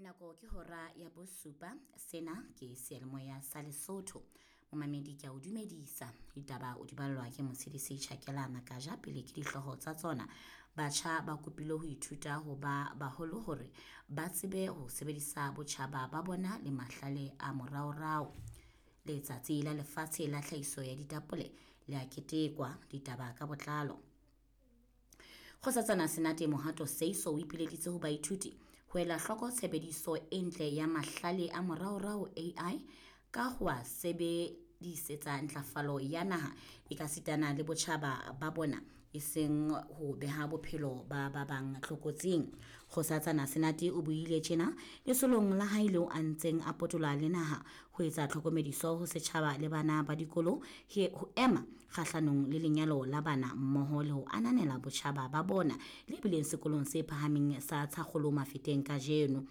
Nako ke hora ya bosupa. Sena ke seyalemoya sa Lesotho. Momamedi ke a o dumedisa. Ditaba o di ballwa ke Motshedisi Tjhakela Makaja pele ke dihlooho tsa tsona. Batjha ba kopilwe ho ithuta ho ba baholo hore ba tsebe ho sebedisa botjhaba ba bona le mahlale a moraorao. Letsatsi la lefatshe la tlhahiso ya ditapole le a ketekwa. Ditaba ka botlalo. Kgosatsana Senate Mohato Seiso o ipileditse ho baithuti ho ela hloko tshebediso e ntle ya mahlale a moraorao AI ka ho a sebedisetsa ntlafalo ya naha ekasitana le botjhaba ba bona e seng ho beha bophelo ba ba bang tlokotsing. Kgosatsana Senate o buile tjena lesolong la hae leo a ntseng a potola le naha ho etsa tlhokomediso ho setjhaba le bana ba dikolo ho ema kgahlanong le lenyalo la bana mmoho le ho ananela botjhaba ba bona le bileng sekolong se phahameng sa Tshakgolo Mafeteng kajeno.